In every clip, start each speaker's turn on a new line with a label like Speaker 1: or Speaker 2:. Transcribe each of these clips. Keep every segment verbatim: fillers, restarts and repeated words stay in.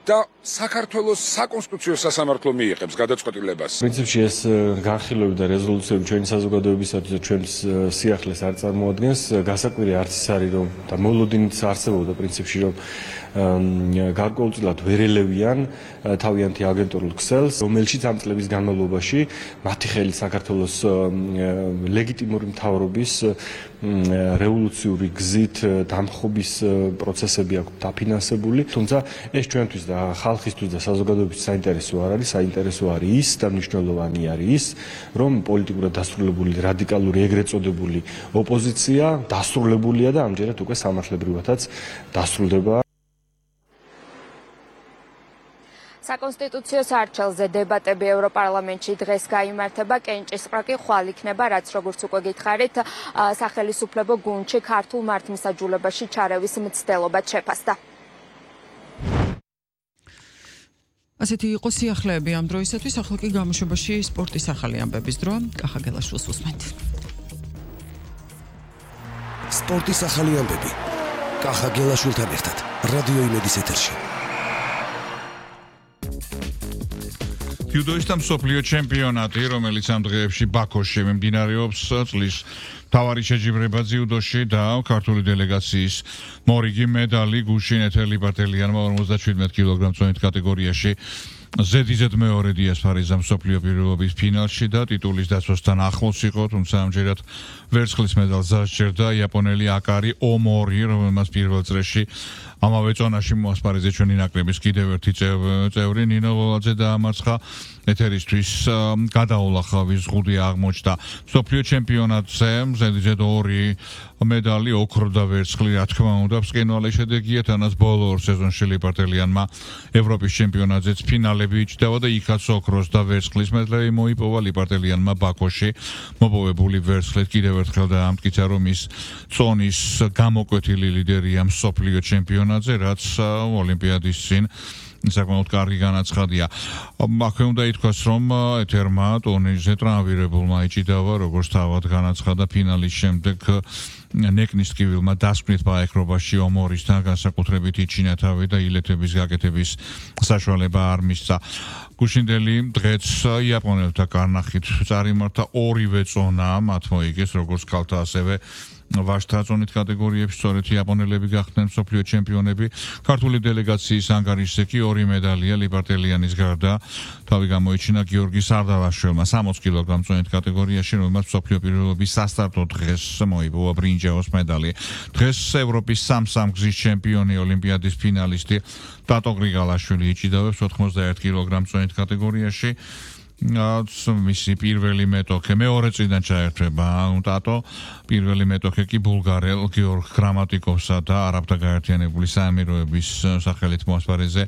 Speaker 1: და საქართველოს საკონსტიტუციო სასამართლო მიიღებს გადაწყვეტილებას.
Speaker 2: პრინციპში ეს განხილვები და რეზოლუციები ჩვენი საზოგადოებისათვის და ჩვენს სიახლეს არ წარმოადგენს. გასაკვირი არც ის არის, რომ და მოლოდინიც არსებობდა პრინციპში, რომ გარკვეულწილად ვერ ელევიან თავიანთი აგენტურულ ქსელს, რომელშიც ამ წლების განმავლობაში მათი ხელით საქართველოს ლეგიტიმური მთავრობის რევოლუციური გზით დამხობის პროცესები აქვს დაფინანსებული, თუმცა ეს ჩვენთვის და ხალხისთვის და საზოგადოების საინტერესო არ არის, საინტერესო არის ის და მნიშვნელოვანი არის ის, რომ პოლიტიკურად დასრულებული რადიკალური ეგრეთ წოდებული ოპოზიცია დასრულებულია და ამჯერად უკვე სამართლებრივადაც დასრულდება.
Speaker 3: საკონსტიტუციო სარჩელზე დებატები ევროპარლამენტში დღეს გაიმართება, კენჭისყრა კი ხვალ იქნება, რაც როგორც უკვე გითხარით, სახელისუფლებო გუნდში ქართულ მართლმსაჯულებაში ჩარევის მცდელობად შეფასდა.
Speaker 4: ასეთი იყო სიახლეები ამ დროისათვის, ახლა კი გამოშვებაში სპორტის ახალი ამბების დრო. კახა გელაშვილს უსმენთ.
Speaker 5: სპორტის ახალი ამბები. კახა გელაშვილთან ერთად რადიო იმედის ეთერში.
Speaker 6: ჯუდოის და მსოფლიო ჩემპიონატი, რომელიც ამ დღეებში ბაქოში მიმდინარეობს, წლის მთავარი შეჯიბრება ჯუდოში და ქართული დელეგაციის მორიგი მედალი გუშინ ეთელი ბარტელიანმა ორმოცდაშვიდმეტ კილოგრამ-წონით კატეგორიაში ზედიზედ მეორე დიასპარიზა მსოფლიო პირველობის ფინალში და ტიტულის დაცვასთან ახლოს იყო, თუმცა ამჯერად ვერცხლის მედალს დასჯერდა იაპონელი აკარი ომორი, რომელმაც პირველ წრეში ამავე წონაში მოასპარეზე ჩვენი ნაკრების კიდევ ერთი წევრი ნინო ლოლაძე დაამარცხა ეთერისთვის გადაულახავი ზღუდი აღმოჩნდა მსოფლიო ჩემპიონატზე ზედიზედ ორი მედალი ოქრო და ვერცხლი რა თქმა უნდა ბრწყინვალე შედეგია თანაც ბოლო ორ სეზონში ლიბარტელიანმა ევროპის ჩემპიონატზეც ფინალები იჭდა და იქაც ოქროს და ვერცხლის მედლები მოიპოვა ლიბარტელიანმა ბაქოში მოპოვებული ვერცხლით კიდევ ერთხელ დაამტკიცა რომ ის წონის გამოკვეთილი ლიდერია მსოფლიო ჩემპიონატზე რაც ოლიმპიადის წინ საკმაოდ კარგი განაცხადია. აქვე უნდა ითქვას, რომ ეთერმა ტურნირზე ტრამვირებულმა იჭიდავა, როგორც თავად განაცხადა ფინალის შემდეგ ნეკნის ტკივილმა დასკვნით ბაექრობაში ომორისთან განსაკუთრებით იჩინა თავი და ილეთების გაკეთების საშუალება არ მისცა. გუშინდელი დღეც იაპონელთა კარნახით წარიმართა ორივე წონა, მათ მოიგეს როგორც ქალთა ასევე ვაჟთა წონით კატეგორიებში სწორედ იაპონელები გახდნენ მსოფლიო ჩემპიონები. ქართული დელეგაციის ანგარიშზე კი ორი მედალია ლიბარტელიანის გარდა თავი გამოიჩინა გიორგი სარდალაშვილმა სამოცდ კილოგრამ-წონით კატეგორიაში, რომელმაც მსოფლიო პირველობის სასტარტო დღეს მოიპოვა ბრინჯაოს მედალი. დღეს ევროპის სამ-სამ გზის ჩემპიონი ოლიმპიადის ფინალისტი ტატო გრიგალაშვილი იჭიდავებს ოთხმოცდაერთ კილოგრამ-წონით კატეგორიაში. მისი პირველი მეტოქე მეორე წიდან ჩაერთვება ტატო პირველი მეტოქე კი ბულგარელ გიორგ გრამატიკოვსა და არაბთა გაერთიანებული საამიროების სახელით მოასპარეზე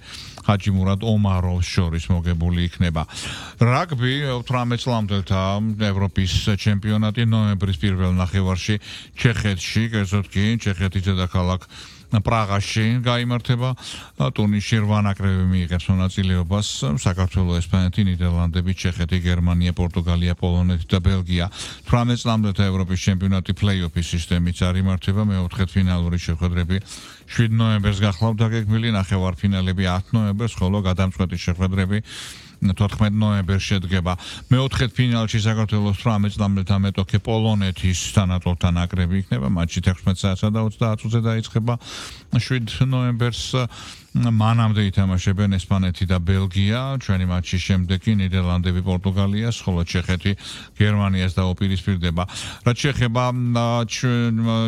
Speaker 6: ჰაჯი მურად ომაროვს შორის მოგებული იქნება. რაგბი ოცდაოთხ წლამდელთა ევროპის ჩემპიონატი ნოემბრის პირველ ნახევარში ჩეხეთში, კერძოდ კი ჩეხეთის დედაქალაქ პრაღაში გაიმართება. ტურნირში რვა ნაკრები მიიღებს მონაწილეობას საქართველოს, ესპანეთი, ნიდერლანდები, ჩეხეთი, გერმანია, პორტუგალია, პოლონეთი და ბელგია. ოცდაოთხ წლამდელთა ევროპის ჩემპიონატი პლეი-ოფის სისტემით წარიმართება, მეოთხედფინალური შეხვედრები შვიდ ნოემბერს გახლავთ დაგეგმილი, ნახევარფინალები ათ ნოემბერს, ხოლო გადამწყვეტი შეხვედრები თოთხმეტ ნოემბერს შედგება. მეოთხედფინალში საქართველოს ოცდაოთხ წლამდელთა მეტოქე პოლონეთის თანატოლთა ნაკრები იქნება, მატჩი თექვსმეტ საათსა და ოცდაათ წუთზე დაიწყება. შვიდ ნოემბერს მანამდე ითამაშებენ ესპანეთი და ბელგია, ჩვენი მატჩის შემდეგ კი ნიდერლანდები პორტუგალიას, ხოლო ჩეხეთი გერმანიას დაუპირისპირდება. რაც შეეხება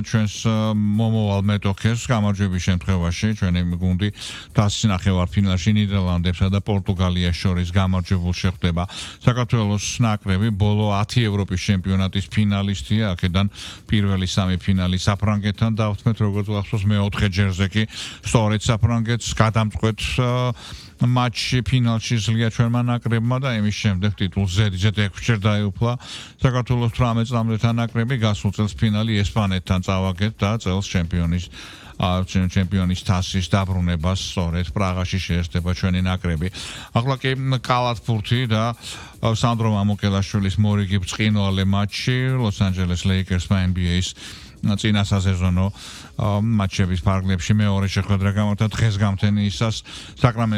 Speaker 6: ჩვენს მომავალ მეტოქეს, გამარჯვების შემთხვევაში ჩვენი გუნდი თასის ნახევარფინალში ნიდერლანდებსა და პორტუგალიას შორის გამარჯვებულ შეხვდება. საქართველოს ნაკრები ბოლო ათი ევროპის ჩემპიონატის ფინალისტია, აქედან პირველი სამი ფინალი საფრანგეთთან დავთმეთ, როგორც გახსოვს მეოთხე ჯერზე კი სწორედ საფრანგეთს გადამწყვეტ მატჩი ფინალში ზლია ჩვენმა ნაკრებმა და იმის შემდეგ ტიტულს ზედიზედ ექვსჯერ დაეუფლა საქართველოს ოცდაოთხ წლამდელთა ნაკრები. გასულ წელს ფინალი ესპანეთთან წავაგეთ და წელს ჩემპიონის ჩემპიონის თასის დაბრუნებას სწორედ პრაღაში შეერთება ჩვენი ნაკრები. ახლა კი კალათბურთი და სანდრო მამუკელაშვილის მორიგი ბრწყინვალე მატჩი ლოს-ანჯელეს ლეიკერსმა ენ ბი ეის წინა სასეზონო მატჩების ფარგლებში მეორე შეხვედრა გამართა დღეს გამთენიისას საკრამენტო